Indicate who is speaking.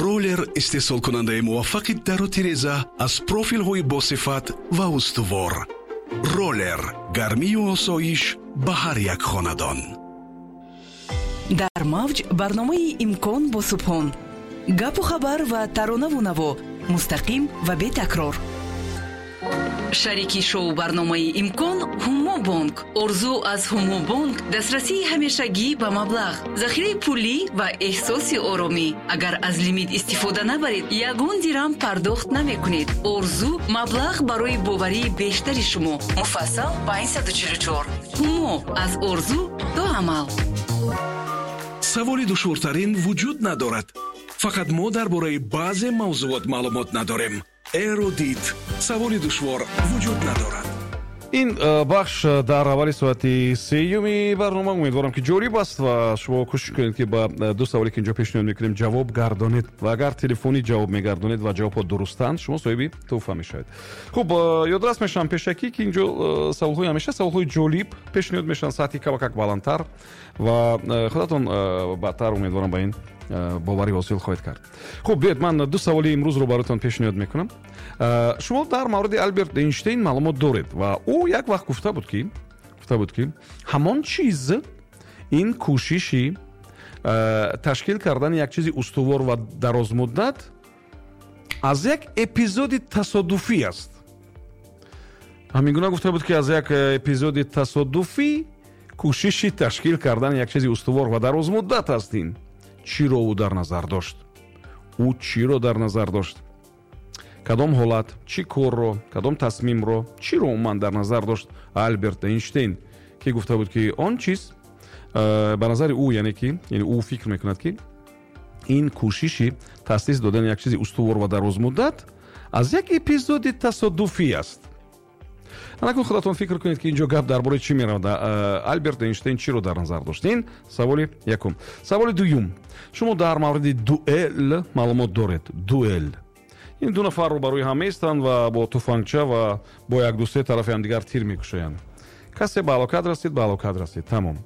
Speaker 1: Роллер, истеҳсолкунандаи муваффақи дару тиреза аз профилҳои босифат ва устувор. Роллер, гармию осоиш ба ҳар як хонадон.
Speaker 2: Дар мавҷ барномаи «Имкон» бо Субҳон. Гапу хабар ва таронаву наво мустақим ва бетакрор. Шарики шоу барномаи «Имкон» «Ҳумо бонк». Орзу аз «Ҳумо бонк» дастрасии ҳамешагӣ ба маблағ, захираи пулӣ ва эҳсоси оромӣ. Агар аз лимит истифода набаред, ягон дирам пардохт намекунед. Орзу маблағ барои боварии бештари шумо. Муфассал 544. «Ҳумо» аз орзу то амал.
Speaker 1: Саволи душвортарин вуҷуд надорад, фақат мо дар бораи баъзе мавзуот маълумот надорем. Эрудит, саволи душвор вуҷуд надорад.
Speaker 3: Ин бахш дар аввали соати сеюми барнома, умедворам, ки ҷолиб аст ва шумо кӯшиш кунед, ки ба ду саволе, ки инҷо пешниҳод мекунем, ҷавоб гардонед ва агар телефонӣ ҷавоб мегардонед ва ҷавобҳо дурустанд, шумо соҳиби тӯҳфа мешавед. Хуб, ёдрас мешавам пешакӣ, ки инҷо саволҳои ҳамеша саволҳои ҷолиб пешниҳод мешаванд, сатҳи камакак баландтар ва худатон баъдтар, умедворам, ба ин боварӣ ҳосил хоҳед кард. Хуб, биёед, ман ду саволи имрӯзро бароятон пешниҳод мекунам. Шумо дар мавриди Алберт Эйнштейн маълумот доред ва ӯ як вақт гуфта буд, ки ҳамон чиз ин кӯшиши ташкил кардани як чизи устувор ва дарозмуддат аз як эпизоди тасодуфӣ аст. Ҳамин гуна гуфта буд, ки аз як эпизоди тасодуфӣ кӯшиши ташкил кардани як чизи устувор ва дарозмуддат аст. Ин чиро ӯ дар назар дошт? Ӯ чиро дар назар дошт? Кадом ҳолат, чӣ корро, кадом тасмимро, чиро умуман дар назар дошт Алберт Эйнштейн, ки гуфта буд, ки он чиз ба назари ӯ, яъне ки яъне ӯ фикр мекунад, ки ин кӯшиши таъсис додани як чизи устувор ва дарозмуддат аз як эпизоди тасодуфӣ аст? Анакун худатон фикр кунед, ки инҷо гап дар бораи чӣ меравад. Алберт Эйнштейн чиро дар назар дошт? Ин саволи якум. Саволи дуюм: шумо дар мавриди дуэл маълумот доред. Дуэл ин ду нафар рӯбарӯи ҳам меистанд ва бо туфангча ва бо як ду се тарафи ҳамдигар тир мекушоянд. Касе ба ҳалокат расид, ба ҳалокат расид, тамом.